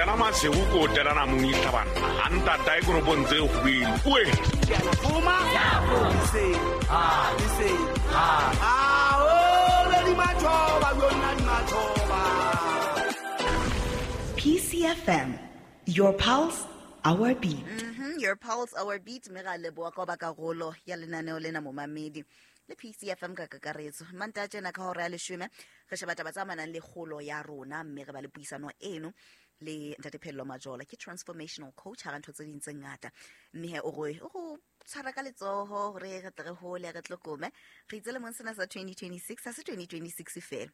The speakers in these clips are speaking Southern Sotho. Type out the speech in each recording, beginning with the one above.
Kena masego ko o telana mong itlhabanna a ntata e koropong tse kgobedi oe. PCFM, your pulse, our beat. Your pulse, our beat. Mme ra leboa ka ba karolo ya lenaneo lena momamedi le PCFM ka kakaretso. Manta tjena ka hora ya 10 re sheba taba tse amanang le kgolo ya rona, mme re ba le puisano eno le Ntate Pheello Majola, ke transformational coach hara ntho tse ding tse ngata. Mme he o re o go tshwara ka letsoho hore re tle re hole, re tlokome. Re itse lemong sena sa 2026, ha se 2026 feela,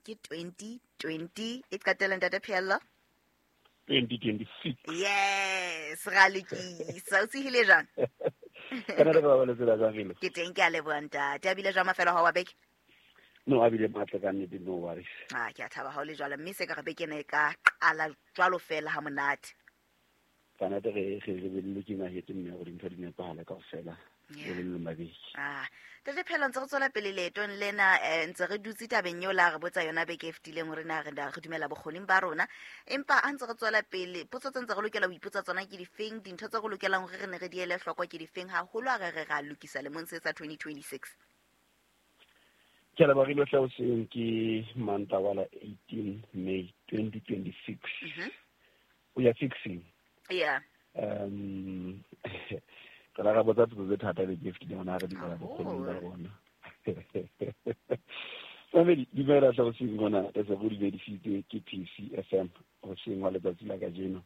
ke 2020 e qetela Ntate Pheello. 2026. Yes, ra lokisa. O tsehile jwang? Kana re ba baletse la jang? Ke teng, ke a leboha ntate. A bile jwang mafelo ha wa beke? No, a bile matla ka nnete, no worries. Ah, ke a thaba ha o le jwalo, mme se ka re beke ena e ka qala jwalo fela ha monate. Ka nnete re be looking ahead mme hore dintho di nepahale kaofela. Le le mabedi. Ah, Ntate Pheello, ntse re tswela pele leetong lena, ntse re dutse tabeng eo la re botsa yona beke e fetileng hore na re dumela bokgoning ba rona. Empa ha ntse re tswela pele, potso tse ntse re lokela ho ipotsa tsona ke difeng, dintho tse re lokelang hore re ne re di ele hloko ke difeng, haholo ha re re ra lokisa lemong se sa 2026. Ke a leboha re hle hoseng ke Mantaha la 18 May 2026. We are fixing. Re la ra botsa potso tse thata beke e fetileng, hona re dumela bokgoning ba rona. Mamedi, dumela hle hoseng hona, re se re dumedisitse ke PCFM hoseng wa letsatsi la kajeno.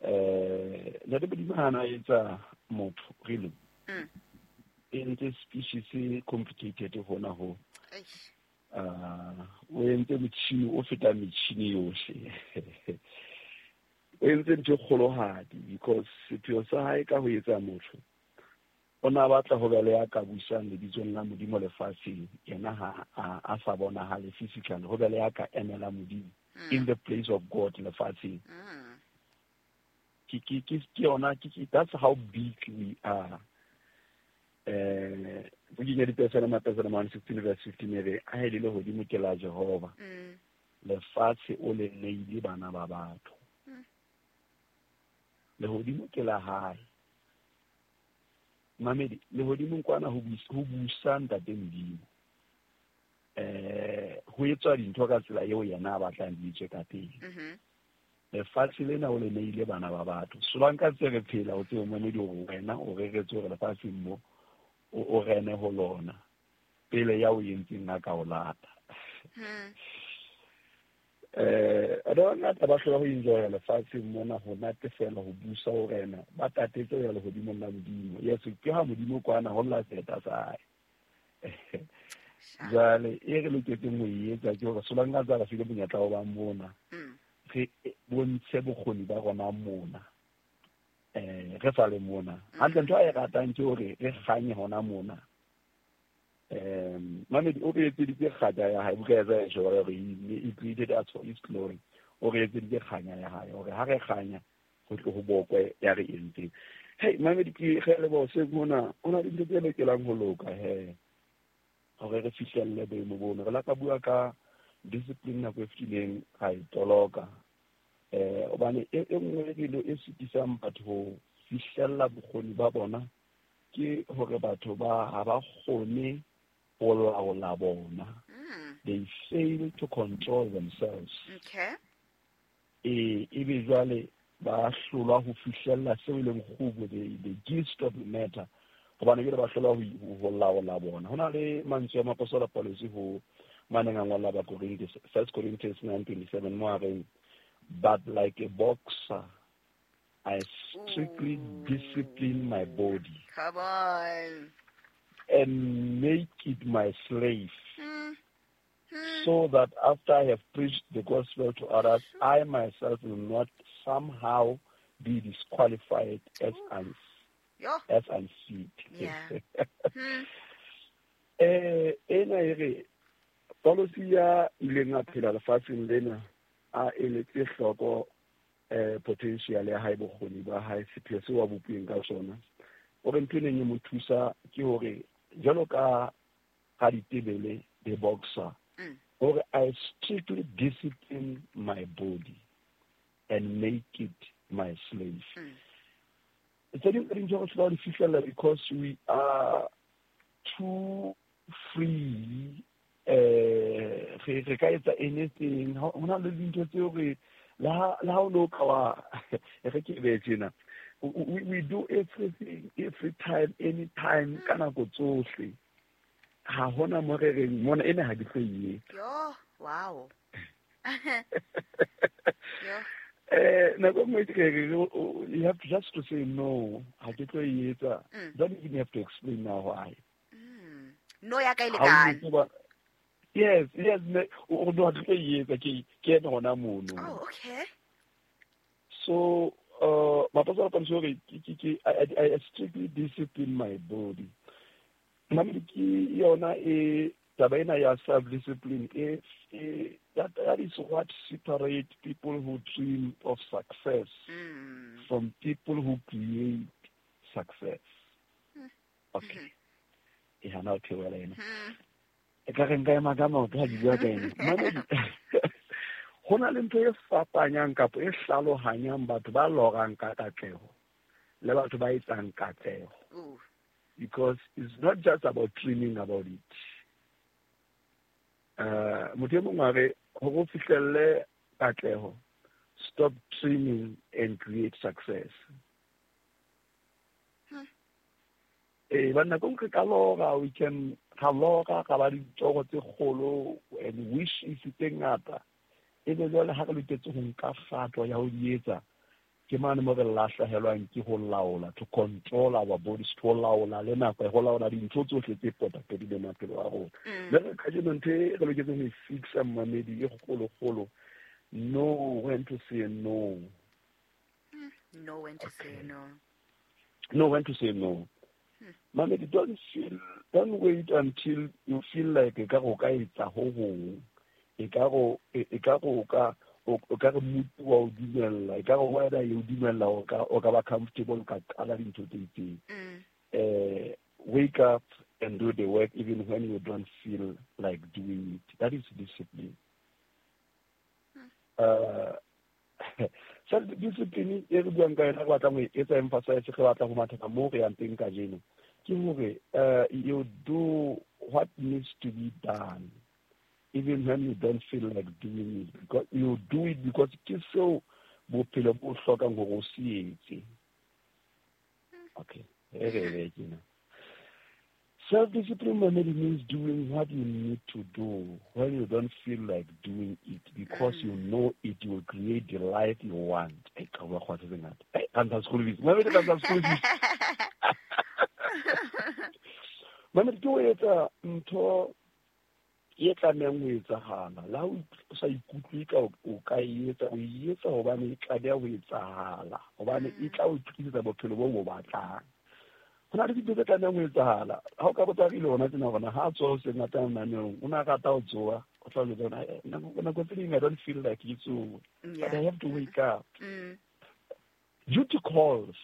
Ntate Modimo ha na etsa motho really. E entse species e complicated hona ho. O entse motjhini o fetang metjhini yohle. O entse ntho e kgolohadi because sepheo sa hae ka ho etsa motho, o na batla ho be le ya ka busang lebitsong la Modimo lefatsheng, yena ha a sa bonahale physically, ho be le ya ka emela Modimo in the place of God lefatsheng. Ke yona, that's how big we are. Bukeng ya Dipesalema, Pesalema 116 verse 15 e re, a e le lehodimo ke la Jehova. Lefatshe o le neile bana ba batho. Lehodimo ke la hae. Mamedi, lehodimong kwana ho busa Ntate Modimo. Ho etswa dintho ka tsela eo yena a batlang di etswe ka teng. Lefatshe lena o le neile bana ba batho. Solanka tse re phela o tsebe mamedi hore wena o reretswe hore lefatsheng mo o rene ho lona pele ya o entseng a ka o lata. Batho ba bangata ba hlola ho enjoya lefatsheng mona, ho natefela, ho busa, ho rena, ba tatetse ho ya lehodimong la Modimo. Yes, ke ha Modimo kwana ho lla seta sa hae. Jwale e re loketseng ho e etsa ke hore solanka tsa re file monyetla wa ba mona, re bontshe bokgoni ba rona mona. Re sa le mona. Hantle ntho a e ratang ke hore re kganye hona mona. Mamedi o re etseditse kganya ya hae, buka ya Isaiah e hore he created us for his glory. O re etseditse kganya ya hae hore ha re kganya ho tle ho bokwe ya re entseng. Hey mamedi, ke re leboha hoseng hona, ho na le dintho tse lokelang ho loka he hore re fihlelle boemo bono. Re la ka bua ka discipline nako e fetileng, ra e toloka. Hobane e nngwe dilo e sitisang batho ho fihlella bokgoni ba bona ke hore batho ba ha ba kgone ho laola bona. They fail to control themselves. Ebe jwale ba hlolwa ho fihlella seo e leng kgubo, the gist of the matter. Hobane jwale ba hlolwa ho laola bona. Ho na le mantswe a Moapostola Paulus ho maneng a ngolla Bakorinthe, 1 Corinthians 9:27, mo a reng, but like a boxer, I strictly discipline my body. Come on. And make it my slave. So that after I have preached the gospel to others, I myself will not somehow be disqualified as unfit. Ena e re, Paulus ya ileng a phela lefatsheng lena, a eletse hloko potential ya hae, bokgoni ba hae, sepheo seo a bopilweng ka sona. O re ntho e neng e mo thusa ke hore jwalo ka ha ditebele the boxer, hore I strictly discipline my body. and make it my slave. Tse ding tsa dintho re hlola di fihlella because we are too free. Re ka etsa anything. Ho na le dintho tseo re le ha o no ka wa re ke be tjena. We do everything, every time, anytime, ka nako tsohle. Ha hona mo re reng mona ena ha ke tlo e etsa. Yo, wow. Yo. Nako nngwe ke re you have to just to say no, ha ke tlo e etsa. Don't even have to explain now why. No ya ka e lekane. Yes, yes, o no ha ke tlo e etsa, ke ena hona mono. Oh, okay. So Mapasa Pansori, I strictly discipline my body. Mami ke yona e taba ena ya self-discipline, that is what separates people who dream of success from people who create success. Okay. E hana ho theohela ena. E ka re nka ema ka maoto ha ke bua ka ena. Mami, ho na le ntho e fapanyang kapa e hlalohanyang batho ba lorang ka katleho le batho ba etsang katleho. Because it's not just about dreaming about it. Motho e mong a re, hore o fihlelle katleho, stop dreaming and create success. Ba nako nngwe ka lora, we can ra lora, ra ba ditoro tse kgolo and wishes tse ngata. Ebe jwale ha re loketse ho nka kgato ya ho di etsa, ke mane mo re lahlehelwang ke ho laola, to control our bodies, to laola le nako, ho laola dintho tsohle tse potapotileng maphelo a rona. Le re kajeno ntho e re loketseng ho e fixa mmamedi e kgolokgolo, know when to say no. Know when to say no. Know when to say no. Mamedi, don't wait until you feel like e ka go ka etsa ho hong. E ka go o ka re motho wa o dumella, e ka re wena e o dumella o ka ba comfortable ka qala dintho tse itseng. Wake up and do the work even when you don't feel like doing it. That is discipline. Self discipline e re buang ka yona, re batlang ho e etsa emphasize, re batla ho matha ka moo re yang teng kajeno, ke hore you do what needs to be done even when you don't feel like doing it, because you do it because ke seo bophelo bo hlokang hore o se etse. Okay, e re be tjena. Self-discipline means doing what you need to do when you don't feel like doing it, because you know it will create the life you want. Hey, ka bua kgwatha tse ngata. Hey, ka ntsha school fees. Mamedi, ka ntsha school fees. Mamedi, ke ho etsa ntho e tlamehang ho etsahala. Le ha o sa ikutlwe ka o ka e etsa, o e etsa hobane e tlameha ho etsahala, hobane e tla o tlisetsa bophelo bo bo batlang. Ho na le dintho tse tlamehang ho etsahala. Ha o ka botsa re ile hona tjena hore ha a tsoha hoseng a tla naneong, o na rata ho tsoha, o tla jwetsa hore, nako tse ding I don't feel like ke tsohe, but I have to wake up. Duty calls.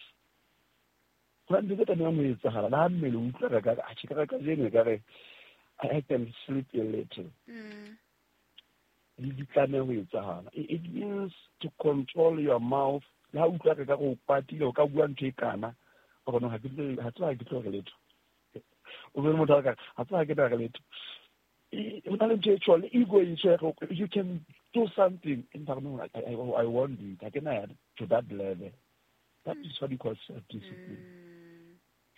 Ho na le dintho tse tlamehang ho etsahala. Le ha mmele o utlwa re ka re, atjhe, ka re kajeno e ka re, I can sleep a little. Di tlameha ho etsahala. It means to control your mouth. Le ha o utlwa re ka re o kwatile, o ka bua ntho e kana, o re no, ha ke tlo, ha tseba ha ke tlo re letho. O be motho a ka, ha tseba ha ke tla re letho. Ho na le ntho e tjho, le ego e tjho, you can do something. Empa no, I won't do it. Ha ke na ya to that level. That is what you call self-discipline.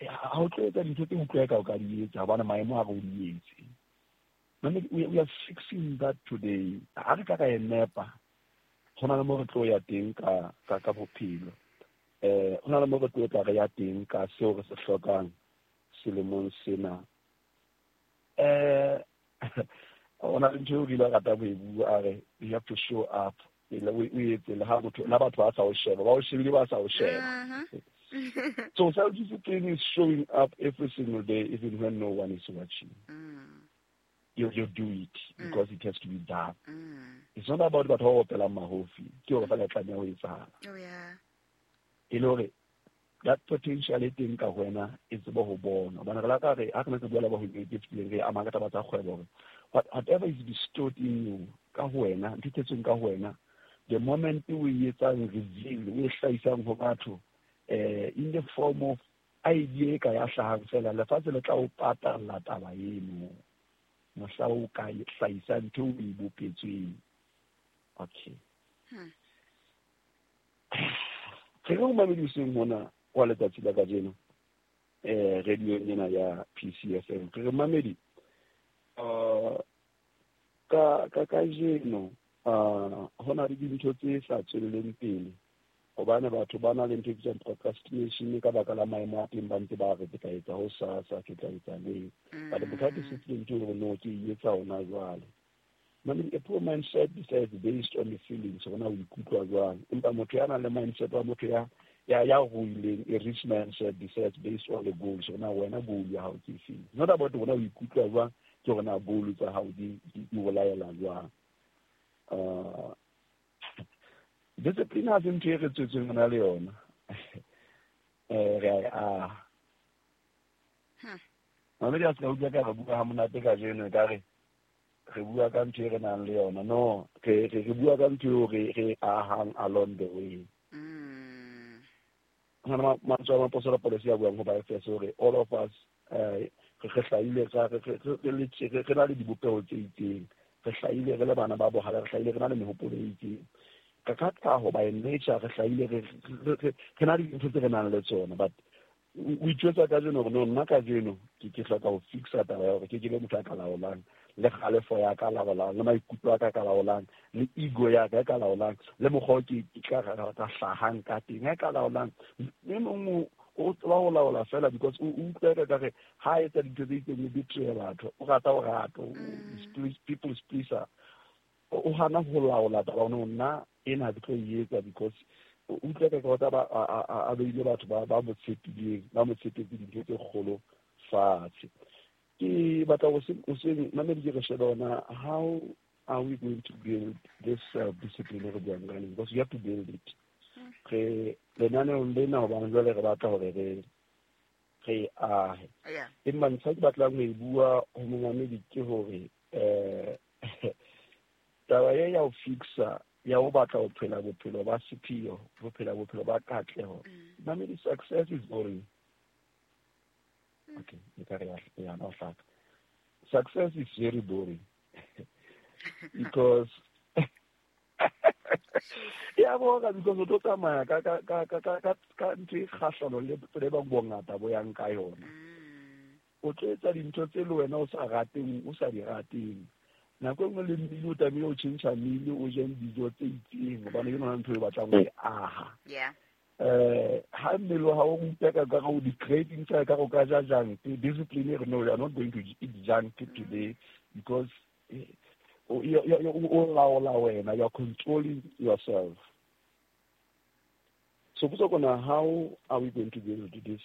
Ha o tlo etsa dintho tse utlwa ka o ka di etsa, hobane maemo a re o di etse. Mane, we are fixing that today. Ha re ka ra e nepa, ho na le mo re tlo ya teng ka bophelo. Ho na le mo re tlo tla re ya teng ka seo re se hlokang selemong sena. Ho na le ntho eo re ile ra rata ho e bua, a re, you have to show up. O etse le ha motho, le ha batho ba sa o sheba, ba o shebile ba sa o sheba. So self-discipline is showing up every single day, even when no one is watching. You do it because it has to be done. It's not about batho ba opelang mahofi. Ke hore feela e tlameha ho etsahala. Oh, yeah. E le hore that potential e teng ka ho wena e tsebe ho bona. Hobane re la ka re, ha re ne re bua le ba ho e fetileng, re ama ka taba tsa kgwebo hore whatever is bestowed in you, ka ho wena, ntho e tletseng ka ho wena, The moment o e etsang reveal, o e hlahisang ho batho in the form of idea e ka ya hlahang fela, lefatshe le tla o patalla taba eno mohla o ka hlahisa ntho o e bopetsweng. Okay. Re re mamedi hoseng hona wa letsatsi la kajeno radio ena ya PCFM. Re re mamedi ka kajeno ho na le dintho tse sa tswelleng pele hobane batho ba na le ntho e bitswang procrastination ka baka la maemo a teng, ba ntse ba re ke tla etsa ho sasa, ke tla etsa neng. But motho ha discipline ke hore no, ke e etsa hona jwale. Mamedi, a poor mindset decides based on the feelings, hore na o ikutlwa jwang. Empa motho ya nang le mindset wa motho ya ruileng, a rich mindset decides based on the goals, hore na wena goal ya hao ke efeng. Not about hore na o ikutlwa jwang, ke hore na goal tsa hao di o laela jwang. Discipline ha se ntho e re tswetsweng re na le yona. Re a e aha. Mamedi, a se ka utlwa ka re bua ha monate kajeno, ekare re bua ka ntho e re nang le yona. No, re bua ka ntho eo re ahang along the way. Hona mantswe a moapostola Paulus ya buang ho Baefese hore all of us re hlahile re na le dibopeho tse itseng, re hlahile re le bana ba bohale, re hlahile re na le mehopolo e itseng. Ka tlhaho, by nature, re hlahile re na le dintho tse re nang le tsona. But o itjwetsa kajeno hore no, nna kajeno ke hloka ho fixa taba ya hore ke be motho a ka laolang le kgalefo ya ka laolang, le maikutlo a ka ka laolang, le ego ya ka e ka laolang, le mokgwa o ke ka hlahang ka teng e ka laolang. E mong o tseba ho laola fela because o utlwa ka re ha etsa dintho tse itseng o betray batho, o rata o rata, people pleaser. O hana ho laola taba hore nna ena ha ke tlo e etsa because o utlwa ka ka ba a beile batho ba mo tshepileng, ba mo tshepetse dintho tse kgolo fatshe. Ke batla ho seng mamedi ke re shebe hona how are we going to build this self-discipline re buang ka yona, because you have to build it. Re lenaneong lena hobane jwale re batla hore re ahe. Empa ntlha ke batlang ho e bua ho momamedi ke hore taba e ya ho fixa, ya ho batla ho phela bophelo ba sepheo, ho phela bophelo ba katleho. Mamedi, success is boring. Okay, e ka re ya no hlaka. Success is very boring because ya bora, because o tlo tsamaya ka ntho e kgahlano le tsela e bang bongata bo yang ka yona. O tlo etsa dintho tse le wena o sa rateng, o sa di rateng. Nako e nngwe le mmele o tlamehile o tjhentjha mmele, o je dijo tse itseng hobane ke yona ntho e batlang ho e aha. Ha mmele wa hao o utlwa ka o di-cravings tsa ka o ka ja junk, discipline e re no, you are not going to eat junk today because o laola wena, you are controlling yourself. So potso kona, how are we going to build this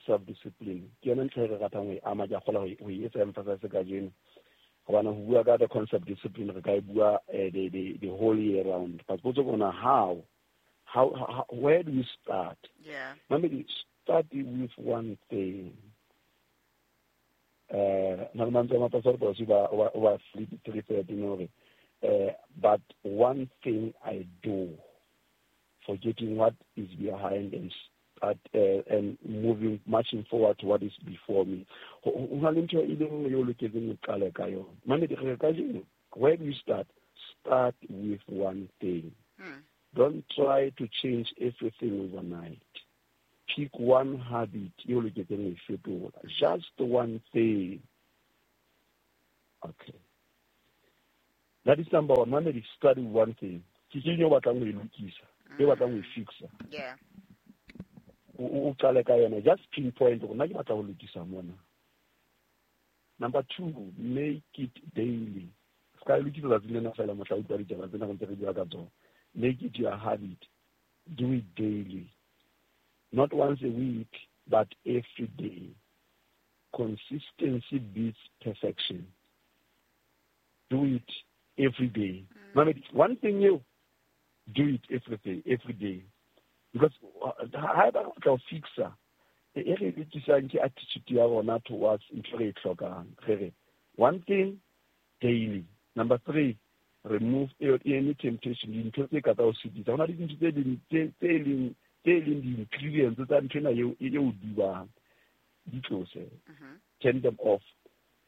self discipline? Ke yona ntlha e re ratang ho e ama, ke a kgola ho e etsa emphasize kajeno hobane ho bua ka the concept discipline re ka e bua the whole year round. But potso kona, how, where do we start? Mamedi, start with one thing. Na le mantswe a moapostola Paulus ba Philippi 3:13 hore but one thing I do, forgetting what is behind and start and moving, marching forward to what is before me. Ho na le ntho e le nngwe eo loketseng o qale ka yona. Mamedi, re kajeno, where do you start? Start with one thing. Don't try to change everything overnight. Pick one habit eo loketseng ho e fetola. Just one thing. Okay. That is number one. Mamedi, start with one thing. Ke eng eo batlang ho e lokisa, e batlang ho e fixa? O qale ka yona. Just pinpoint hore nna ke batla ho lokisa mona. Number two, make it daily. Se ka e lokisa tsatsi lena fela mohla o utlwa ditaba tsena re ntse re bua ka tsona. Make it your habit. Do it daily. Not once a week, but every day. Consistency beats perfection. Do it every day. Mamedi, one thing you do it every day, every day. Because haeba re batla ho fixa, e re lokisang ke attitude ya rona towards ntho re e hlokang. Re re one thing daily. Number three, Remove any temptation, dintho tse ka tsa o sitisa. Ho na le dintho tse ding tse leng di-ingredients tsa ntho ena eo dubang, di tlose, turn them off,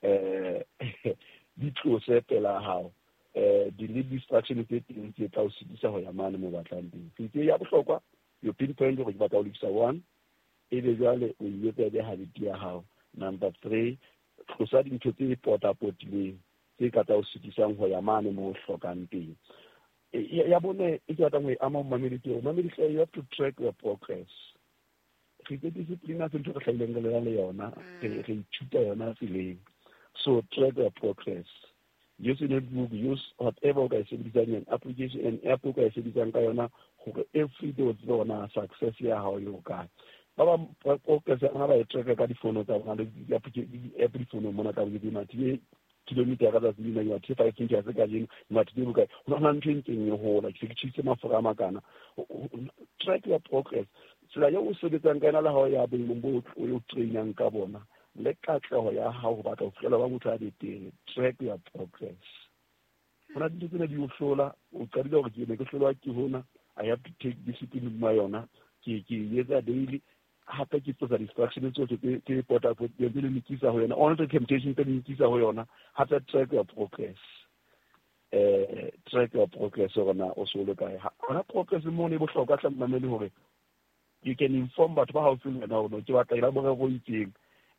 di tlose pela hao. Delete distraction tse teng tse tla o sitisa ho ya mane mo batlang teng. Tse ya bohlokwa, you pinpoint hore ke batla ho lokisa 1, ebe jwale o etsa ebe habit ya hao. Number 3, tlosa dintho tse potapotileng tse ka tsa o sitisang ho ya mane mo hlokang teng. Ya bone e ke batlang ho e ama momamedi ke hore momamedi hle, you have to track your progress. Re itse discipline ha se ntho re hlahileng re le yona, re ithuta yona tseleng. So track your progress. Use a notebook, use whatever o ka e sebedisang, an application, an app o ka e sebedisang ka yona hore every day o tsebe hore na success ya hao e hokae. Ba bang progress ya bona ba e track ka difono tsa bona le di-app difonong mona ka bo di mathe kilometer ka tsatsi lena, ke mathe 5 meters kajeno, ke mathe bokae. Ho na ntho e ntseng e hola, ke se ke tjhehise mafura a makana. Track your progress. Tsela eo o sebetsang ka yona le ha o ya boemong bo o trainang ka bona, le katleho ya hao ho batla ho fihlela ba motho a betere. Track your progress. Ho na dintho tsena di o hlola, o qadile hore ke ne ke hlolwa ke hona, I have to take discipline hodima yona, ke etsa daily. Hape ke tlosa distraction tsohle tse potapotileng tse le nkisa ho yona, all the temptation tse le nkisa ho yona. Hape track your progress. Track your progress hore na o so le kae. Hona progress mo ne bohlokwa hle momamedi hore you can inform batho ba haufi le wena hore ke batla ela morero o itseng.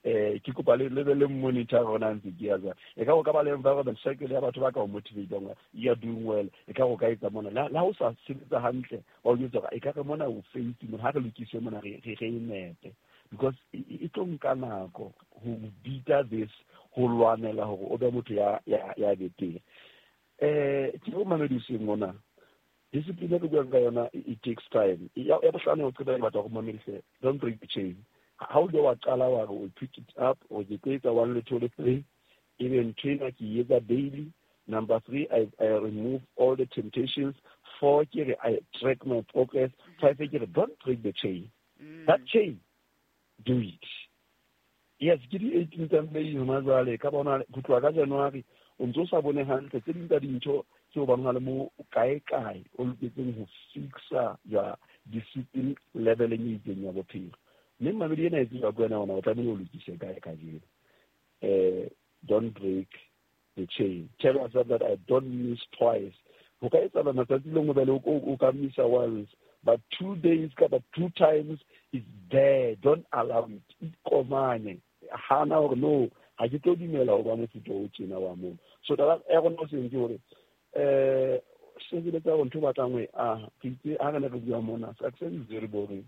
Ke kopa le be le monitor hore na ntse ke ya jwang. E ka o ka ba le environment circle ya batho ba ka o motivate-ang, you are doing well. E ka o ka etsa mona la o sa sebetsa hantle, ba o jwetsa hore e ka re mona o faith mona, ha re lokise mona re e nepe, because e tlo nka nako ho beat this, ho lwanela hore o be motho ya betere. Ke o mamedi o seng mona, discipline e re buang ka yona, it takes time. Ya bohlano o qeta batho go mamedise, don't break the chain. Ha o ile wa qala wa re o pick it up, o ke tlo etsa 1 le 2 le 3, ebe ntho ena ke etsa daily. Number 3, I remove all the temptations. 4, ke re I track my progress. 5, ke re don't break the chain. That chain, do it. Yes, ke di 18 tsa May hona jwale, ka bona ho tloha ka January o ntso sa bone hantle tse ding tsa dintho tse o bang le mo kae kae o loketseng ho fixa ya discipline level e itseng ya bophelo. Mme mamedi ena e tseba ke wena ona o tlamehile o lokise kae kajeno. Don't break the chain. Tell yourself that I don't miss twice. Ho ka etsahala matsatsi le nngwe bele o ka missa once, but 2 days kapa 2 times is there. Don't allow it. Ikomanye. Hana hore no, ha ke tlo dumela ho ba mofuta o tjena wa moo. So taba ya rona o seng ke hore sebeletsa hore ntho o batlang ho e aha. Re itse ha re ne re bua mona, success is very boring.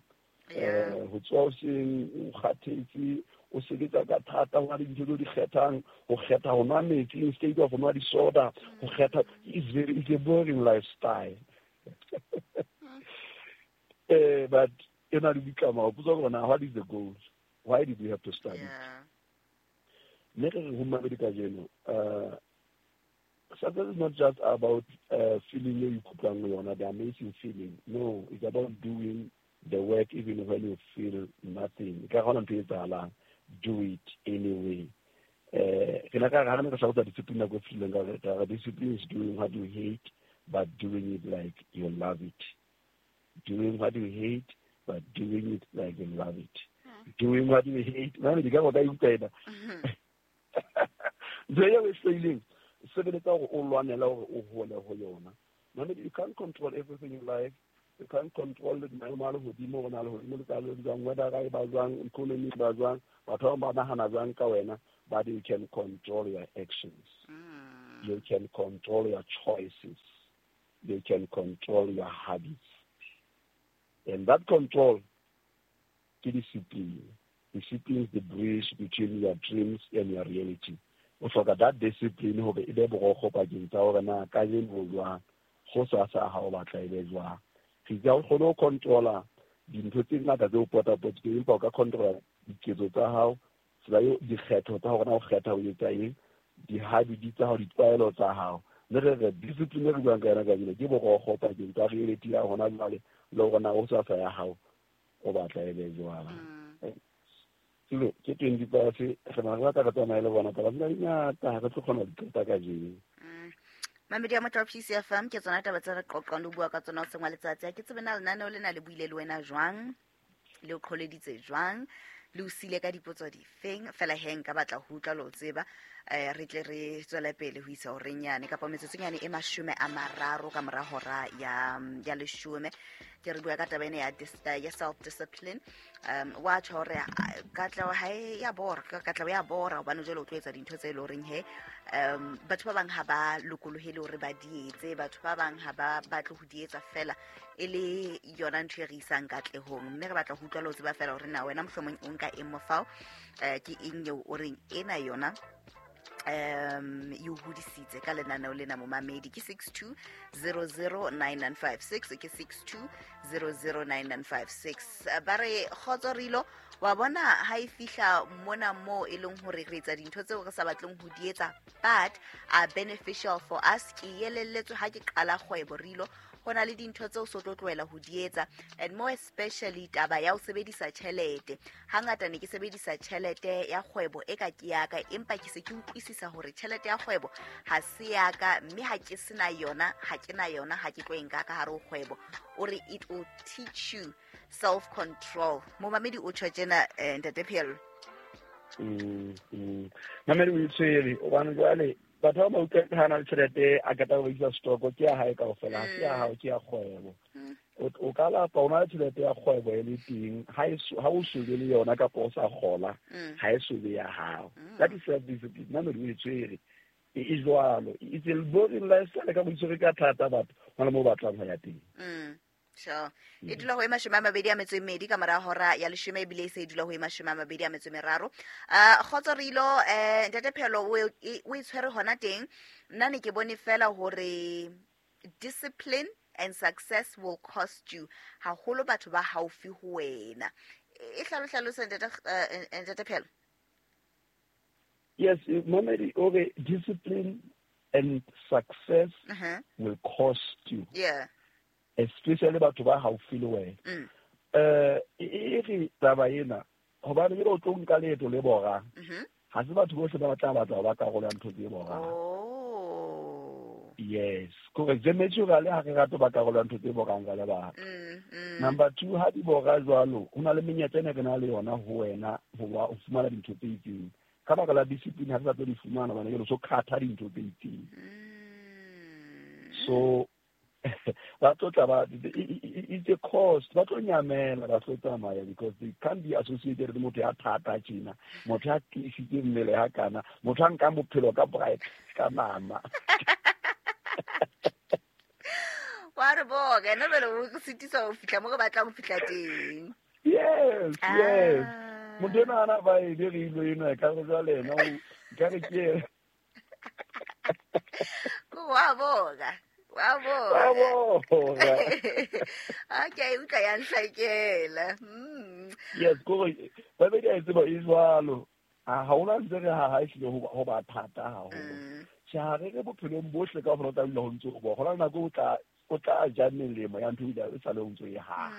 Ho tswa hoseng o kgathetse, o sebetsa ka thata, ho na le dintho tse o di kgethang, ho kgetha ho nwa metsi instead of ho nwa di-soda, ho kgetha, it's a boring lifestyle. But e na le ditlamorao. Potso ke hore na what is the goal? Why did we have to start it? Mme re re ho mamedi kajeno, success is not just about feeling eo ikutlwang ho yona, the amazing feeling. No, it's about doing the work even when you feel nothing. Ka hona ntho e etsahalang, do it anyway. Ke na ka re ha re ne re hlalosa discipline nako e fetileng, ka re discipline is doing what you hate, but doing it like you love it. Doing what you hate, but doing it like you love it. Doing what you hate. Mane di ka go ka utlwa ena. Ntho eo e hloileng, sebeletsa hore o lwanela hore o hole ho yona. Mane, you can't control everything in life. You can't control the maemo a lehodimo, hore na lehodimo le tla le jwang, weather e ba jwang, economy e ba jwang, batho ba bang ba nahana jwang ka wena, but you can control your actions. You can control your choices. You can control your habits. And that control ke discipline. Discipline is the bridge between your dreams and your reality. O hloka that discipline hore e be borokgo pakeng tsa hore na kajeno o jwang, hosasa ha o batla e be jwang. Re itse ha o kgone ho controla dintho tse ngata tse o potapotileng, empa o ka controla diketso tsa hao, tsela eo dikgetho tsa hore na o kgetha ho etsa eng, di-habit tsa hao, ditlwaelo tsa hao. Mme re re discipline e re buang ka yona kajeno ke borokgo pakeng tsa reality ya hona jwale le hore na hosasa ya hao o batla e be jwang. Selo ke 20 past, re na re batla re tsamaye le bona, taba tsena di ngata, ha re tlo kgona ho di qeta kajeno. Mamedi ya motho wa PCFM, ke tsona taba tse re qoqang le ho bua ka tsona hoseng wa letsatsi. Ha ke tsebe na lenaneo lena le buile le wena jwang, le o qholeditse jwang, le o sile ka dipotso difeng. Fela he nka batla ho utlwa le ho tseba, re tle re tswele pele ho isa horeng yane kapa metsotsonyane e 30 ka mora hora ya 10. Ke re bua ka taba ena ya self discipline. Wa tjho hore katleho ha e ya bora, katleho ya bora hobane jwale o tlo etsa dintho tse leng horeng he batho ba bang ha ba lokolohele hore ba di etse, batho ba bang ha ba batle ho di etsa fela e le yona ntho e re isang katlehong. Mme re batla ho utlwa le ho tseba fela hore na wena mohlomong o nka eng mofao, ke eng eo o reng ena yona e o hodisitse ka lenaneo lena momamedi. Ke 62009956, ke 62009956. Ba re kgotso Rilo, wa bona ha e fihla mona mo e leng hore re etsa dintho tseo re sa batleng ho di etsa but are beneficial for us. Ke elelletswe ha ke qala kgwebo Rilo, ho na le dintho tseo so tlo tlohela ho di etsa, and more especially taba ya ho sebedisa tjhelete. Hangata ne ke sebedisa tjhelete ya kgwebo e ka ke ya ka, empa ke se ke utlwisisa hore tjhelete ya kgwebo ha se ya ka, mme ha ke sena yona, ha ke na yona, ha ke tlo e nka ka hare ho kgwebo. O re it will teach you self control. Momamedi o tjho tjena, Ntate Pheello. Mamedi o itshwere hobane jwale batho ba utlwa ha na le tjhelete a qeta ho rekisa stoko ke ya hae kaofela, ha se ya hao, ke ya kgwebo. O ka lapa o na le tjhelete ya kgwebo e le teng, ha o sobe le yona kapa o sa kgola, ha e sobe ya hao. That is self discipline. Mamedi o itshwere e jwalo. It's a boring lifestyle ka boitshwere ka thata batho hona moo batlang ho ya teng. Sure. E dula ho e 22 ka mora hora ya 10, ebile e se e dula ho e 23. Kgotso Rilo, Ntate Pheello o e tshwere hona teng. Nna ne ke bone fela hore discipline and success will cost you haholo batho ba haufi ho wena. E hlalosa Ntate Pheello. Yes, Mamedi o re discipline and success will cost you. Yeah. Especially batho ba haufi le wena. E re taba ena hobane ke o tlo nka leeto le borang. Ha se batho bohle ba tla batla ba karolo ya ntho tse borang. Oh. Yes, correct. Naturally ha re rata ba karolo ya ntho tse borang ka lebaka. Number 2, ha di bora jwalo, ho na le menyetla ena re na le yona ho wena ho fumana dintho tse itseng. Ka baka la discipline ha re sa tlo di fumana hobane ke so khatha dintho tse itseng. So ba tlo tla ba it's a cost, ba tlo nyamela, ba tlo tsamaya because they can't be associated le motho ya thata tjena, motho ya tiisitse mmele ya kana, motho a nkang bophelo ka bright ka nama. Wa re boka, ena jwale o sitisa ho fihla mo re batlang ho fihla teng. Yes, yes. Motho ena ana ba e re ilo ena ka re jwale ena o ka re ke wa boka. Wa boka. Okay, utlwa ya nhlakela. Yes, kore ba be di a tseba e jwalo. Ha hona ntse re ha ehlile ho ba thata haholo. Tjhe, ha re re bophelong bohle ka hore o tla dula ho ntso bo. Hona nako o tla ja melemo ya ntho e sa le o ntso e ha.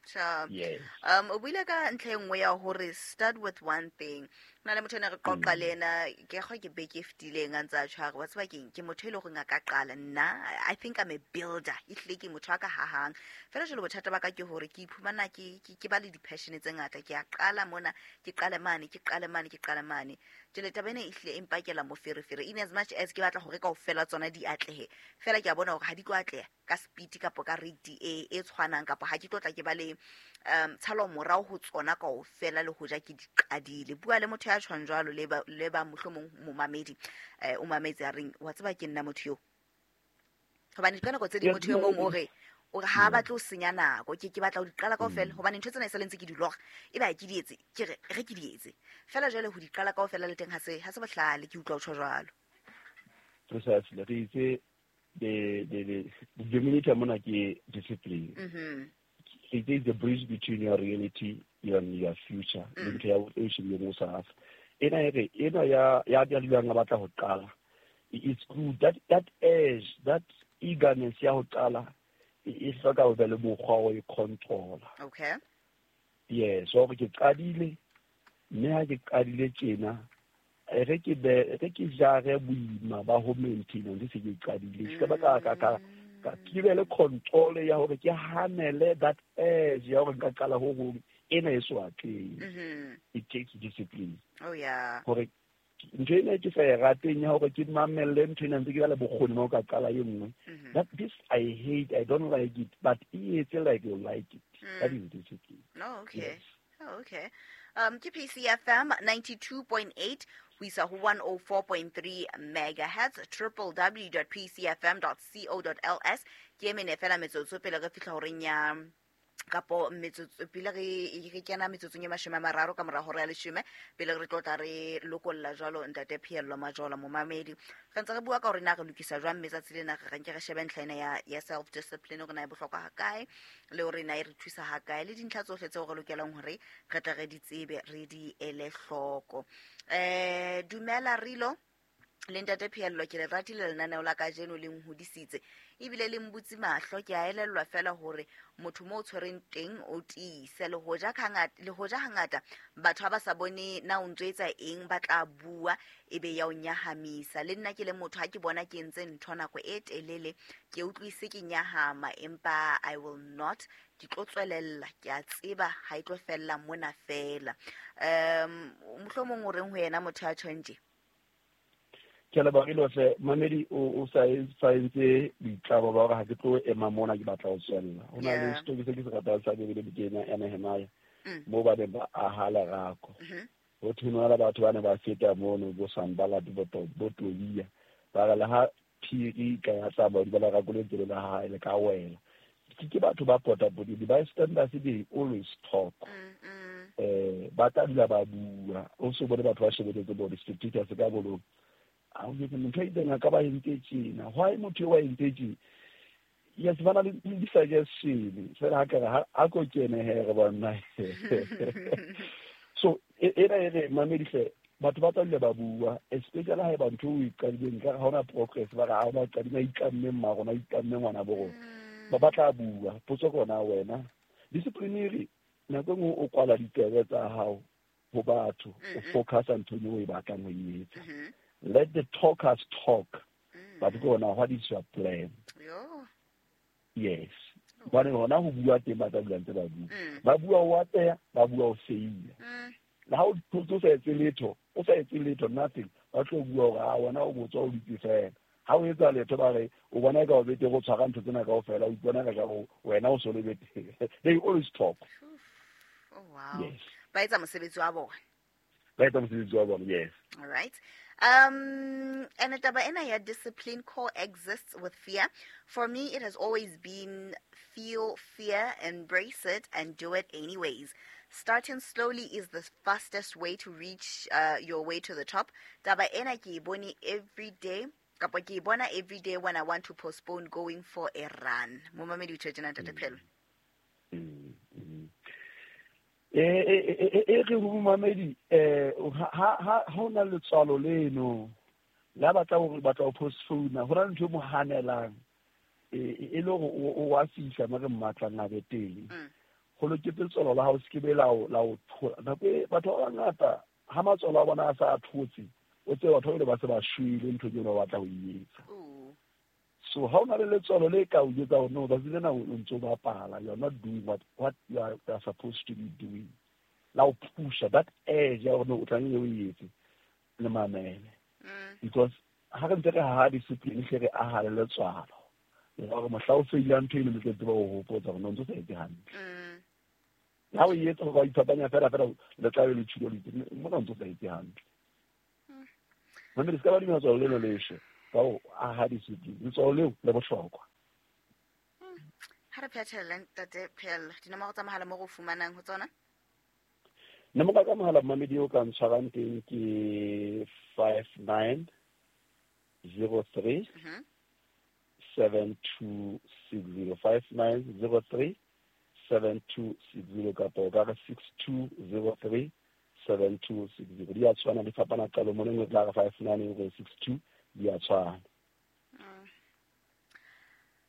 Sure. Yes. O buile ka ntlha e nngwe ya hore start with one thing. Hona le motho ene re qoqa le ena, ke kgwa ke beke e fetileng a ntse a tjho a re, wa tseba keng, ke motho e leng hore a ka qala nna, I think I'm a builder. Ehlile ke motho a ka hahang. Fela jwale bothata ba ka ke hore ke iphumana ke ba le di-passion tse ngata. Ke a qala mona, ke qale mane, ke qale mane, ke qale mane. Jwale taba ena ehlile e mpakela moferefere. In as much as ke batla hore kaofela tsona di atlehe, fela ke a bona hore ha di tlo atleha ka speed kapa ka rate e tshwanang, kapa ha ke tlo tla ke ba le tshalo morao ho tsona kaofela le hoja ke di qadile. Bua le motho ya tshwang jwalo le ba mohlomong momamedi, o mametse a reng, wa tseba ke nna motho eo. Hobane ka nako tse ding motho e mong o re ha batle ho senya nako, ke batla ho di qala kaofela, hobane ntho tsena e sa le ntse ke di lora, ebe ha ke di etse, ke re ke di etse. Fela jwale ho di qala kaofela le teng ha se bohlale, ke utlwa o tjho jwalo. Precisely, re itse the denominator mona ke discipline. It is the bridge between your reality and your future. Ntho ya o shebile mo sa. Ena e re ena ya ya dulang a batla ho qala. It's good that edge, that eagerness ya ho qala e hloka ho be le mokgwa wa e control. Okay. Yes, so ke qadile, mme ha ke qadile tjena Re ke be re ke jare boima ba ho maintenance se ke qadile, se ba ka ke be le control ya hore ke hanele that urge ya hore nka qala ho hong ena e so atleng. It takes discipline. Oh yeah. Hore ntho ena ke sa e rateng ya hore ke mamelle ntho ena ntse ke ba le bokgoni ba ho ka qala e nngwe. That this I hate, I don't like it, but e etse like you like it. That is discipline. Oh, okay. Yes. Oh, okay. Ke PCFM 92.8 ho isa ho 104.3 megahertz, www.pcfm.co.ls. Ke e mene fela metsotso pele re fihla horeng ya kapo metsotso pele re kena metsotsong e 30 ka mora hora ya 10 pele re tlo tla re lokolla jwalo ntate Phehello Majola momamedi. Re ntse re bua ka hore na re lokisa jwang mme tsatsi lena re nke re shebe ntlha ena ya self discipline hore na e bohlokwa ha kae le hore na e re thusa ha kae le dintlha tsohle tseo re lokelang hore re tle re di tsebe re di ele hloko. Dumela Rilo le ntate Phehello, ke le ratile lenaneo la kajeno le nhodisitse ebile le mbutse mahlo. Ke a elellwa fela hore motho mo o tshwereng teng o tiise, le hoja hangata batho ha ba sa bone na o ntso etsa eng ba tla bua ebe ya o nyahamisa. Le nna ke le motho ha ke bona ke entse ntho nako e telele ke utlwise ke nyahama, empa I will not, ke tlo tswelella, ke a tseba ha e tlo fella mona fela. Mohlomong o reng ho yena motho ya tjhong tje? Ke a leboha Rilo hle, mamedi o sa entse boitlamo ba hore ha ke tlo ema mona ke batla ho tswella. Ho na le story se ke se ratang sa Bibele bukeng ya Nehemia, moo ba neng ba aha lerako. Ho thwe le batho ba ne ba feta mono bo Sanballat bo Tobia, ba re le ha phiri ka ya tsamaya hodima lerako le ntse le la hae le ka wela. Ke batho ba potapotile, bystanders they always talk. Ba tla dula ba bua. O so bone batho ba shebeletse bo di-spectators ka bolong. A o jwetse motho a itseng a ka ba entse tjena. Why motho eo a entse tjena? Yes, ba na le di-suggestion. Fela ha ke re, ha ko kene he re bona. So, ena e re, mamedi hle, batho ba tla dula ba bua, especially ha eba ntho o e qadileng, nkare ha hona progress, ba re ha hona qadima, itlamme mma rona, itlamme ngwana bo rona. Ba tla bua. Potso ke hona wena. Discipline e re, nako e nngwe o kwala ditsebe tsa hao ho batho, o focusa nthong eo o e batlang ho e etsa. Let the talkers talk. But go now, what is your plan? Yes. Hobane hona ho bua teng ba tla dula ntse ba bua. Ba bua o atleha, ba bua o feila. Le ha o thotse o sa etse letho, o sa etse letho, nothing. Ba tlo bua hore, ah, wena o botswa o dutse fela. Ha o etsa letho ba re, o bona eka o betere o tshwara ntho tsena kaofela, o ipona ka jwalo, wena o so le betere. They always talk. Oh, wow. Yes. Ba etsa mosebetsi wa bona. Ba etsa mosebetsi wa bona, yes. All right. And taba ena ya discipline coexists with fear. For me, it has always been feel fear, embrace it, and do it anyways. Starting slowly is the fastest way to reach your way to the top. Taba ena ke e bone every day. Kapa ke e bona every day when I want to postpone going for a run. Momamedi o tjho tjena, Ntate Phehello. E re ho momamedi, ha ho na letswalo leno la batla hore batla ho postpone, ho na le ntho e mo hanelang, e le hore o wa fihla mo re mmatlang a be teng. Ho loketse letswalo la hao se ke be la o thola. Nako e batho ba bangata ha matswalo a bona a sa a thotse, o tsebe batho ba ba se ba shwele ntho eo ba batla ho e etsa. So ha o na le letswalo le ka o jwetsa hore no, tsatsi lena o ntso bapala, you are not doing what you are supposed to be doing. La o pusha that edge ya hore no, o tlamehile o e etse, le mamele. Because ha re ntse re haha discipline, hle re aha le letswalo. Le hore mohla o feilang ntho eno, le tla tseba ho hopotsa hore no, o ntso sa etse hantle. Ha o e etsa hore ba iphapanya fela fela, le tla be le tjhilo le itse, mona o ntso sa etse hantle. Mamele, se ka ba dumela letswalo leno le shwe. Ka ho aha discipline, letswalo leo le bohlokwa. Ha re phethela, Ntate Phehello, dinomoro tsa mohala mo re o fumanang ho tsona? Nomoro tsa mohala mamedi o ka ntshwarang teng ke 5903 7260, 5903 7260, kapa o ka re 6203 7260. Di a tshwana, di fapana qalo mona, e nngwe tla re 59, e nngwe 62, di a tshwana.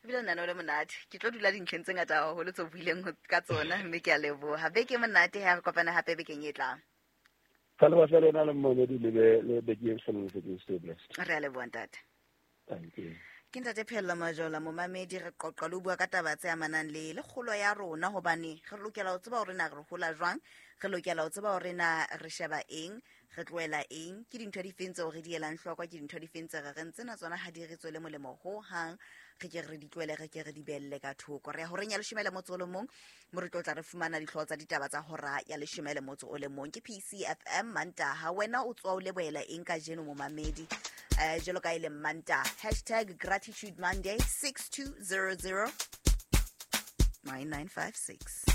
Ebile nna le monate, ke tlo dula dintlheng tse ngata haholo tse o buileng ka tsona, mme ke a leboha. Beke e monate ha re kopana hape bekeng e tlang. Ka leboha fela wena le mmamedi, le be le beke e hlololofetseng. Stay blessed. Re a leboha, ntate. Thank you. Ke ntate Phello Majola, momamedi. Re qoqa le ho bua ka taba tse amanang le kgolo ya rona, hobane re lokela ho tseba hore na re hola jwang, re lokela ho tseba hore na re sheba eng, re tlohela eng, ke dintho di feng tseo re di elang hloko, ke dintho di feng tse re reng tsena tsona ha di re tswele molemo ho hang, re ke re di tlohele, re ke re di behelle ka thoko. Re ya horeng ya 11, mo re tlo tla re fumana dihlooho tsa ditaba tsa hora ya 11. Ke PCFM, Mantaha. Wena o tswa o lebohela eng kajeno, momamedi? Jwalo ka e leng Mantaha, #GratitudeMonday, 6200 9956.